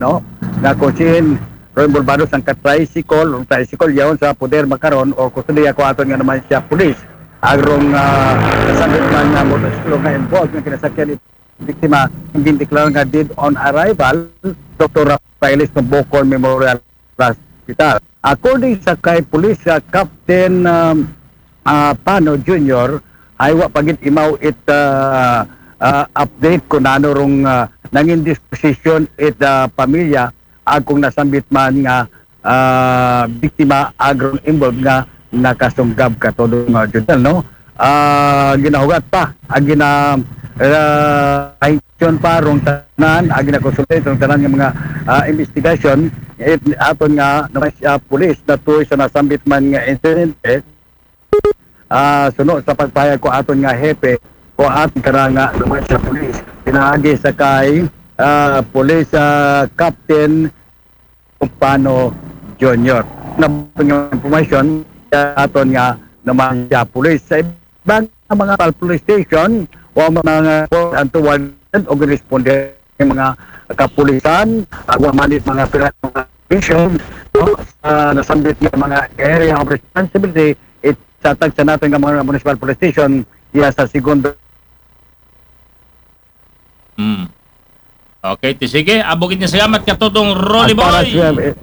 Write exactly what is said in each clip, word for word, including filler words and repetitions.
no? Nga kung siin, Roy Bulbados ang ka-tricycle, ang tricycle yaon sa poder makaron, o kustodiya ko aton nga naman siya pulis. Agrong uh, kasabit man nga motorsiklo nga involved nga kinasakyan ni biktima, ang gindeklara nga dead on arrival, Doktor Rafaelis Mabokon Memorial Hospital. According sa kay Police uh, Captain um, uh, Pano Junior, ay wa pa gid imaw it uh, uh, update kung ano rong uh, nangin disposition it uh, pamilya ag kung nasambit man nga ah, biktima agrong involved nga nakasunggab katodong uh, Judel, no? Ah, ginahugat pa ang gina ah, action pa rong tanan, ang ginakonsulate rong tanan nga mga ah, investigation it, aton nga naman siya pulis na tuoy sa nasambit man nga insidente. Ah, suno sa pagpahayag ko aton nga hepe ko aton kara nga naman siya pulis, pinaagi sa kay ah, Police ah, Captain Pano Junior. Na nga information sa aton nga naman siya pulis. Sa ibang mga pal police station o mga report ang tuwag o responde ng mga kapulisan, uh, wa man it mga pinag-, mga station, no? Sa nasambit nga mga area of responsibility, it sa tagsa natin nga mga municipal police station, iya sa segundo. Hmm. Okay, ti sige. Abugid nga salamat katodong Rolly As far as Boy. we have, eh,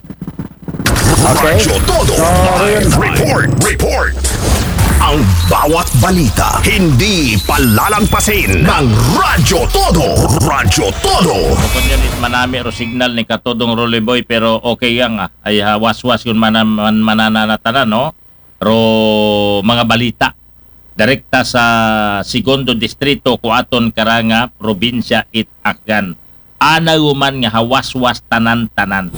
okay. Radyo Todo. So, Live yun. report. Report. Ang bawat balita, hindi palalampasin ng Radyo Todo. Radyo Todo. Bukod yan, it manami ro signal ni katodong Rolly Boy, pero okay yan nga. Ay ha, waswas yun mana, man, manananatanan, no? Ro mga balita. Direkta sa segundo distrito ko aton karanga probinsya it Akgan. Anaw man nga hawaswas tanan-tanan.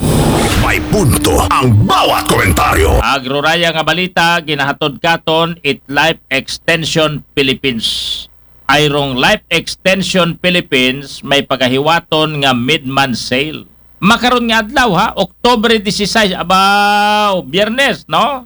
May punto ang bawat komentaryo. Agroraya nga balita, ginahatod katon it Life Extension Philippines. Ay rong Life Extension Philippines may pagahiwaton nga mid-month sale. Makaron nga adlaw ha, Oktubre disisais, abaw, Biyernes, no?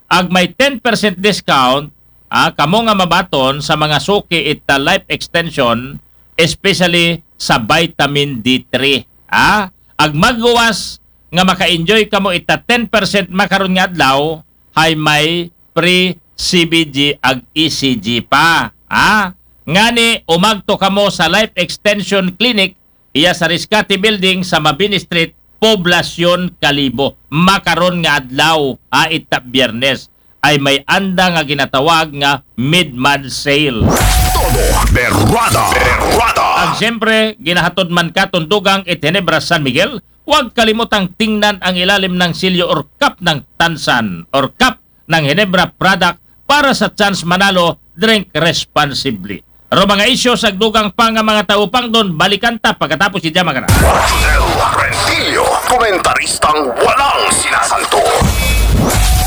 Ag may ten percent discount, ah, kamo nga mabaton sa mga suki ita life extension, especially sa vitamin D three. Ah, ag magluwas nga maka-enjoy kamo ita ten percent makaron nga adlaw, hay may free C B G ag E C G pa. Ah, ngani umagto kamo sa Life Extension Clinic iya sa Rescate Building sa Mabini Street, Poblacion, Kalibo. Makaron nga adlaw, ah, ita Biyernes, ay may anda nga ginatawag nga mid-month sale. Todo Berrada. Berrada. Ag siyempre, ginahatod man katon dugang it Ginebra San Miguel, huwag kalimutang tingnan ang ilalim ng silyo or cup ng Tansan or cup ng Ginebra product para sa chance manalo, drink responsibly. Ro mga isyu sa dugang pa nga mga taupangdon, balikan ta pagkatapos ni Jama Kana. Josel Rentillo, komentaristang walang sinasanto.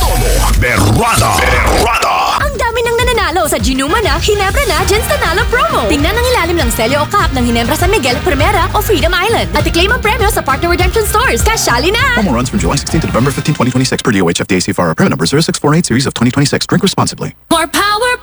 Todo Berrada. Berrada. Ang dami ng nananalo sa Ginuman na, Ginebra na, Gems Nanalo Promo. Tingnan ang ilalim ng selyo o cup ng Ginebra San Miguel, Primera o Freedom Island. At i-claim ang premyo sa partner redemption stores. Kasali na! Promo runs from July sixteenth to November fifteenth, twenty twenty-six, per D O H F D A C F R, permit number zero six four eight series of twenty twenty-six. Drink responsibly. For power,